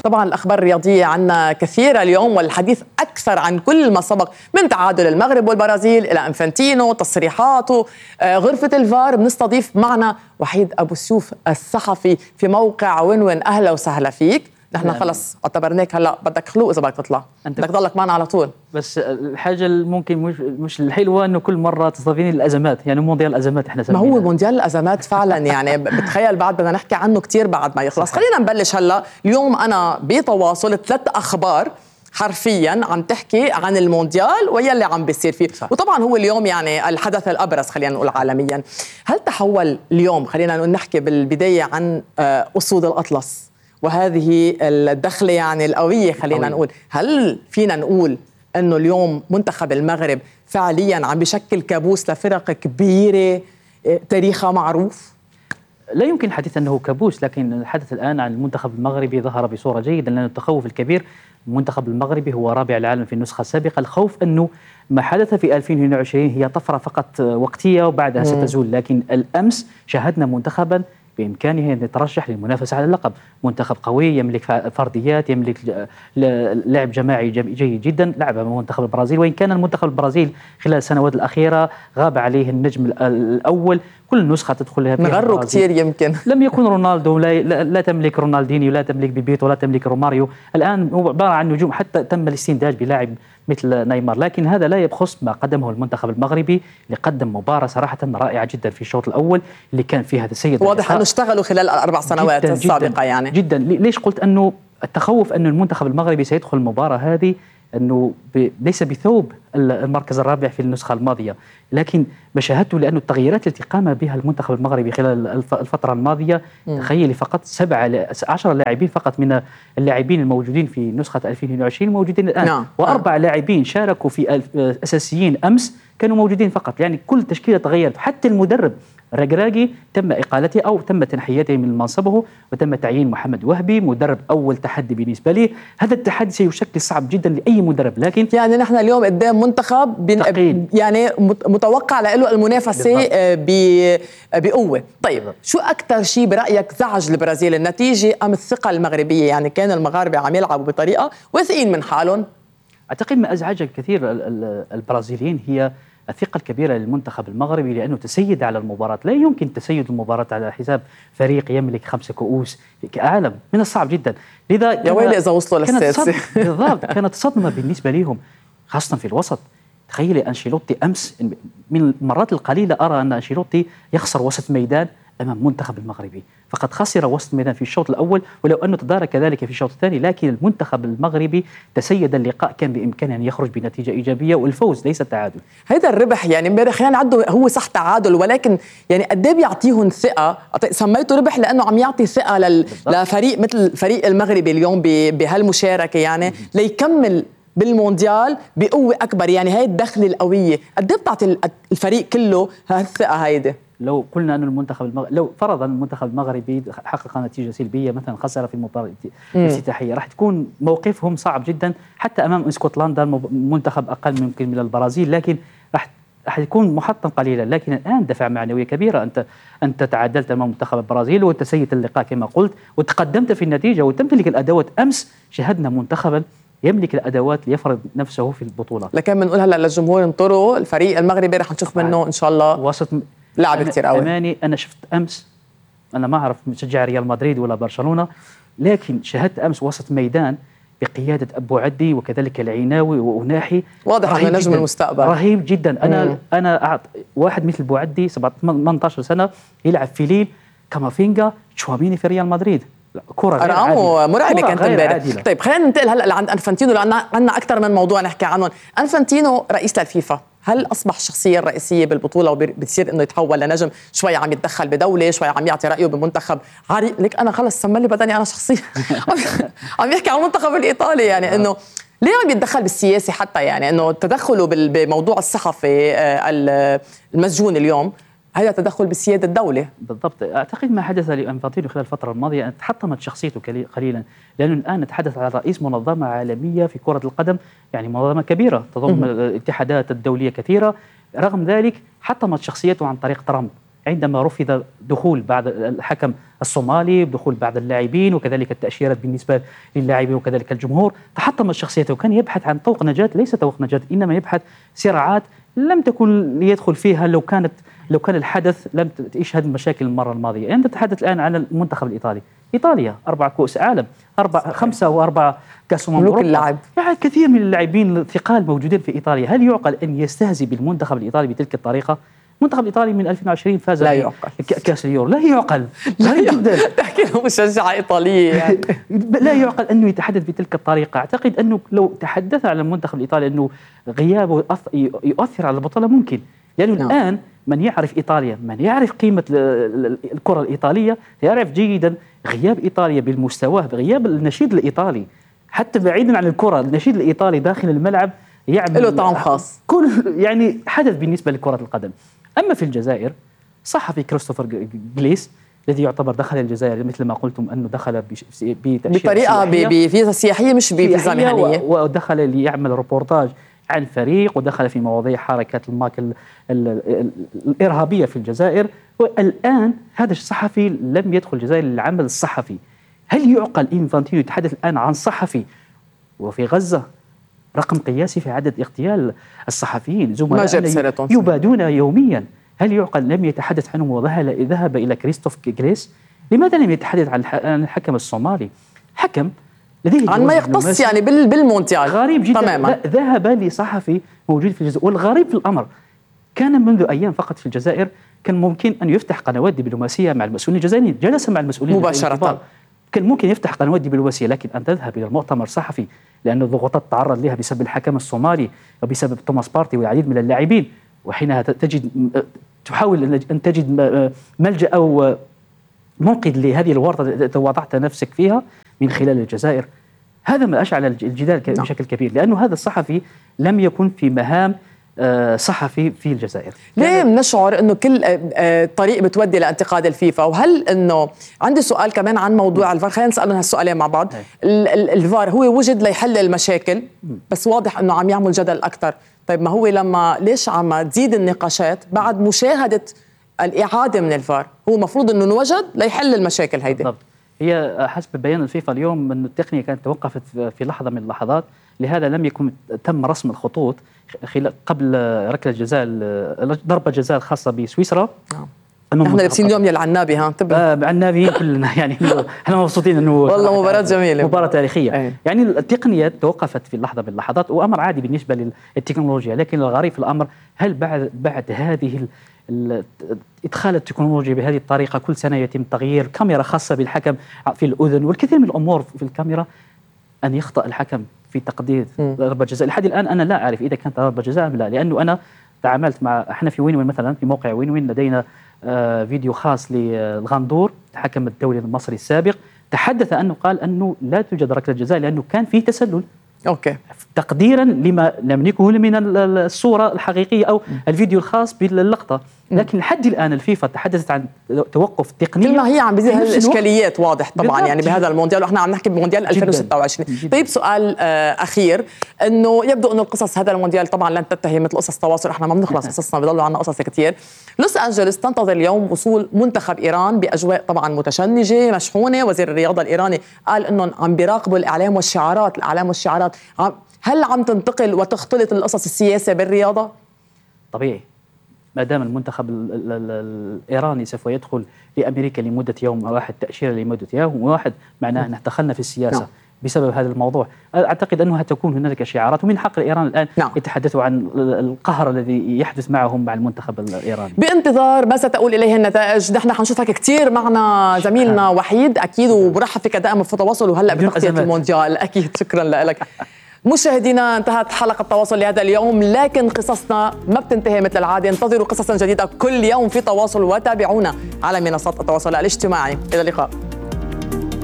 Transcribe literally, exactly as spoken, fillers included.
طبعا الأخبار الرياضية عنا كثيرة اليوم، والحديث أكثر عن كل ما سبق من تعادل المغرب والبرازيل إلى أنفانتينو، تصريحاته، غرفة الفار. بنستضيف معنا وحيد أبو سيوف الصحفي في موقع وين وين. أهلا وسهلا فيك. نحن خلص اعتبرناك هلا بدك خلوق اذا بدك تطلع، بدك تضلك معنا على طول. بس الحاجه ممكن مش مش الحلوه انه كل مره تستضيفيني الازمات، يعني مونديال الازمات احنا سمينا. ما هو مونديال الازمات فعلا يعني بتخيل بعد بدنا نحكي عنه كتير بعد ما يخلص. خلينا نبلش هلا. اليوم انا بتواصل ثلاث اخبار حرفيا عم تحكي عن المونديال ويلي عم بيصير فيه، صح. وطبعا هو اليوم يعني الحدث الابرز خلينا نقول عالميا. هل تحول اليوم، خلينا نحكي بالبدايه عن اسود الاطلس وهذه الدخلة يعني القوية، خلينا نقول، هل فينا نقول أنه اليوم منتخب المغرب فعليا عم بيشكل كابوس لفرق كبيرة تاريخها معروف؟ لا يمكن الحديث أنه كابوس، لكن الحدث الآن عن المنتخب المغربي ظهر بصورة جيدة، لأن التخوف الكبير المنتخب المغربي هو رابع العالم في النسخة السابقة. الخوف أنه ما حدث في ألفين واثنين وعشرين هي طفرة فقط وقتية وبعدها مم. ستزول، لكن الأمس شاهدنا منتخبا بإمكانه أن يترشح للمنافسة على اللقب. منتخب قوي يملك فرديات، يملك لعب جماعي جيد جدا. لعب منتخب البرازيل، وإن كان المنتخب البرازيل خلال السنوات الأخيرة غاب عليه النجم الأول، كل نسخة تدخلها فيها نغروا كثير يمكن. لم يكن رونالدو، لا, لا تملك رونالدينيو، لا تملك بيبيتو، لا تملك روماريو. الآن هو عبارة عن نجوم، حتى تم الاستنتاج بلاعب مثل نيمار. لكن هذا لا يبخس ما قدمه المنتخب المغربي، اللي قدم مباراة صراحة رائعة جدا في الشوط الأول اللي كان فيها تسيد. واضح أنه اشتغلوا خلال الأربع سنوات جداً السابقة جداً يعني. جدا. ليش قلت أنه التخوف أن المنتخب المغربي سيدخل المباراة هذه أنه ليس بثوب المركز الرابع في النسخة الماضية، لكن ما شاهدته لأنه التغييرات التي قام بها المنتخب المغربي خلال الفترة الماضية، تخيلي فقط سبعة عشر لاعبين فقط من اللاعبين الموجودين في نسخة ألفين واثنين وعشرين موجودين الآن، نعم. وأربع لاعبين شاركوا في أساسيين أمس كانوا موجودين فقط. يعني كل تشكيلة تغيرت، حتى المدرب رجراجي تم إقالته أو تم تنحيته من منصبه، وتم تعيين محمد وهبي مدرب. أول تحدي بالنسبة لي، هذا التحدي سيشكل صعب جدا لأي مدرب، لكن يعني نحن اليوم قدام منتخب يعني متوقع له المنافسة بقوة. طيب بالضبط. شو أكثر شيء برأيك زعج البرازيل، النتيجة أم الثقة المغربية؟ يعني كان المغاربة عم يلعبوا بطريقة واثقين من حالهم. أعتقد ما أزعج كثير البرازيليين هي الثقة الكبيرة للمنتخب المغربي، لأنه تسيد على المباراة. لا يمكن تسيد المباراة على حساب فريق يملك خمسة كؤوس كعالم، من الصعب جدا. لذا يا ويلي إذا وصلوا للسادسة. بالضبط، كانت صدمة بالنسبة لهم خاصة في الوسط. تخيلي أنشيلوتي أمس، من المرات القليلة أرى أن أنشيلوتي يخسر وسط ميدان أمام منتخب المغربي. فقد خسر وسط الميدان في الشوط الأول، ولو أنه تدارك كذلك في الشوط الثاني، لكن المنتخب المغربي تسيد اللقاء، كان بإمكانه أن يخرج بنتيجة إيجابية، والفوز ليس التعادل. هذا الربح يعني امبارح يعني عدوا هو صح تعادل، ولكن يعني قد ايه بيعطيهم ثقة. سميته ربح لأنه عم يعطي ثقة لل... لفريق مثل الفريق المغربي اليوم بهالمشاركة، يعني ليكمل بالمونديال بقوة أكبر. يعني هاي الدخلة القوية قد ايه بتعطي الفريق كله هالثقة هيدي؟ لو قلنا أن المنتخب المغ... لو فرضا المنتخب المغربي حقق نتيجة سلبية، مثلا خسر في المباراة الافتتاحية، راح تكون موقفهم صعب جدا حتى أمام اسكتلندا، منتخب أقل ممكن من البرازيل، لكن راح راح يكون محطم قليلا. لكن الآن دفع معنوية كبيرة، أنت أنت تعادلت أمام منتخب البرازيل وتسيت اللقاء كما قلت، وتقدمت في النتيجة وتمتلك الأدوات. أمس شاهدنا منتخبا يملك الأدوات ليفرض نفسه في البطولة. لكن بنقول هلا للجمهور انطروا، الفريق المغربي رح نشوف منه إن شاء الله وسط لعب كتير قوي. أماني أنا شفت أمس، أنا ما أعرف مشجع ريال مدريد ولا برشلونة، لكن شاهدت أمس وسط ميدان بقيادة أبو عدي وكذلك العيناوي وأناحي، واضح أنه نجم المستقبل، رهيب جدا. أنا مم. أنا أعط واحد مثل أبو عدي ثمانية عشر سنة يلعب في ليل، كامافينجا، تشواميني في ريال مدريد، كرة أرقامه مرعبة كانت امبارح. طيب خلينا ننتقل هلا لعند أنفانتينو، لأن عندنا أكثر من موضوع نحكي عنهم. أنفانتينو رئيس للفيفا، هل أصبح الشخصية الرئيسية بالبطولة وبتصير إنه يتحول لنجم؟ شوي عم يتدخل بدولة، شوي عم يعطي رأيه بمنتخب عريق. لك أنا خلص سملي بدني أنا شخصية عم يحكي عن المنتخب الإيطالي، يعني إنه ليه عم يتدخل بالسياسة حتى، يعني إنه تدخله بموضوع الصحفي المسجون اليوم هذا تدخل بسيادة الدولة. بالضبط. أعتقد ما حدث لأنفانتينو خلال الفترة الماضية أن تحطمت شخصيته قليلا، لأنه الآن نتحدث عن رئيس منظمة عالمية في كرة القدم، يعني منظمة كبيرة تضم الاتحادات الدولية كثيرة. رغم ذلك حطمت شخصيته عن طريق ترامب، عندما رفض دخول بعض الحكم الصومالي، بدخول بعض اللاعبين وكذلك التأشيرات بالنسبة للاعبين وكذلك الجمهور، تحطمت شخصيته وكان يبحث عن طوق نجاة، ليس طوق نجاة إنما يبحث صراعات لم تكن ليدخل فيها لو كانت لو كان الحدث لم يشهد مشاكل المرة الماضية. يعني نتحدث الآن عن المنتخب الإيطالي، إيطاليا أربع كؤوس عالم، أربع خمسة وأربعة كأس أمم أوروبا، اللعب يعني كثير من اللاعبين الثقال موجودين في إيطاليا. هل يعقل أن يستهزئ بالمنتخب الإيطالي بتلك الطريقة؟ المنتخب الإيطالي من ألفين وعشرين فاز لا يعقل كأس اليورو، لا يعقل لا جدا. تحكي له مشجعة إيطالية يعني. لا يعقل أنه يتحدث بتلك الطريقة. أعتقد أنه لو تحدث على المنتخب الإيطالي أنه غيابه يؤثر على البطولة ممكن، لأنه يعني الآن من يعرف إيطاليا، من يعرف قيمة الكرة الإيطالية يعرف جيدا غياب إيطاليا بالمستوى، غياب النشيد الإيطالي حتى بعيدا عن الكرة، النشيد الإيطالي داخل الملعب يعمل له طعم خاص، كل يعني حدث بالنسبة لكرة القدم. أما في الجزائر صحفي كريستوفر جليس الذي يعتبر دخل الجزائر مثل ما قلتم أنه دخل بطريقة بفيزا سياحية مش بفيزا مهنية، ودخل ليعمل روبورتاج عن فريق ودخل في مواضيع حركات الماك الإرهابية في الجزائر. والآن هذا الصحفي لم يدخل الجزائر للعمل الصحفي. هل يعقل إنفانتينو يتحدث الآن عن صحفي وفي غزة رقم قياسي في عدد اغتيال الصحفيين، زملاء يبادون يوميا؟ هل يعقل لم يتحدث عنهم وذهب إلى كريستوف جليس؟ لماذا لم يتحدث عن الحكم الصومالي؟ حكم لديه عن ما يختص يعني بالمونديال غريب جدا تماما. ذهب لصحفي موجود في الجزائر. والغريب في الأمر كان منذ أيام فقط في الجزائر كان ممكن أن يفتح قنوات دبلوماسية مع المسؤولين الجزائريين، جلس مع المسؤولين مباشرة، كان ممكن يفتح قنوات دبلوماسية، لكن أن تذهب إلى المؤتمر صحفي لأن الضغوطات تعرض لها بسبب الحكم الصومالي وبسبب توماس بارتي والعديد من اللاعبين، وحينها تجد تحاول أن تجد ملجأ أو منقذ لهذه الورطة وضعت نفسك فيها من خلال الجزائر. هذا ما أشعل الجدال بشكل كبير، لأنه هذا الصحفي لم يكن في مهام صحفي في الجزائر. ليه بنشعر انه كل طريق بتودي لانتقاد الفيفا؟ وهل انه عندي سؤال كمان عن موضوع الفار، خلينا نسال هالسؤالين مع بعض. الفار هو وجد ليحل المشاكل بس واضح انه عم يعمل جدل اكثر. طيب ما هو لما ليش عم تزيد النقاشات بعد مشاهده الاعاده من الفار؟ هو المفروض انه نوجد ليحل المشاكل هيدي. بالضبط. هي حسب بيان الفيفا اليوم أن التقنية كانت توقفت في لحظة من اللحظات، لهذا لم يكن تم رسم الخطوط قبل ركلة جزاء ضربة جزاء الخاصة بسويسرا. نحن لابسين اليوم يا العنابي، ها انتبه. آه العنابيين كلنا يعني احنا مبسوطين انه والله مباراة جميلة، مباراة تاريخية. أي. يعني التقنية توقفت في لحظة من اللحظات وأمر عادي بالنسبة للتكنولوجيا، لكن الغريب في الأمر هل بعد بعد هذه إدخال التكنولوجيا بهذه الطريقة كل سنة يتم تغيير كاميرا خاصة بالحكم في الأذن والكثير من الأمور في الكاميرا، أن يخطأ الحكم في تقدير ضربة جزاء؟ لحد الآن أنا لا أعرف إذا كانت ضربة جزاء أم لا، لأنه أنا تعاملت مع احنا في وين وين مثلا في موقع وين وين لدينا آه فيديو خاص للغندور الحكم الدولي المصري السابق، تحدث أنه قال أنه لا توجد ركلة جزاء لأنه كان فيه تسلل. أوكي. تقديرا لما نملكه من الصورة الحقيقية أو الفيديو الخاص باللقطة، لكن لحد الآن الفيفا تحدثت عن توقف تقني. كل ما هي عم بيزيد الإشكاليات واضح طبعا يعني بهذا المونديال، وإحنا عم نحكي بمونديال ألفين وستة وعشرين. جداً. طيب سؤال آه أخير، إنه يبدو إنه القصص هذا المونديال طبعا لن تنتهي مثل قصص تواصل، إحنا ما بنخلص قصصنا، بيضلوا عنا قصص كتير. لوس أنجلوس تنتظر اليوم وصول منتخب إيران بأجواء طبعا متشنجة مشحونة. وزير الرياضة الإيراني قال إنهم عم بيراقبوا الإعلام والشعارات، الإعلام والشعارات. هل عم تنتقل وتختلط القصص السياسة بالرياضة؟ طبيعي، ما دام المنتخب الإيراني سوف يدخل لأمريكا لمدة يوم واحد، تأشيرة لمدة يوم واحد، معناه أن دخلنا في السياسة. نعم. بسبب هذا الموضوع. أعتقد أنه تكون هنالك شعارات، ومن حق الإيران الآن نعم. يتحدثوا عن القهر الذي يحدث معهم مع المنتخب الإيراني. بانتظار ما ستقول إليه النتائج. نحن حنشوفك كتير معنا زميلنا وحيد أكيد، وبرحب فيك دائما في تواصل وهلأ بتغطية المونديال أكيد. شكرا لك. مشاهدينا، انتهت حلقة تواصل لهذا اليوم، لكن قصصنا ما بتنتهي مثل العادة. انتظروا قصصا جديدة كل يوم في تواصل، وتابعونا على منصات التواصل الاجتماعي. إلى اللقاء.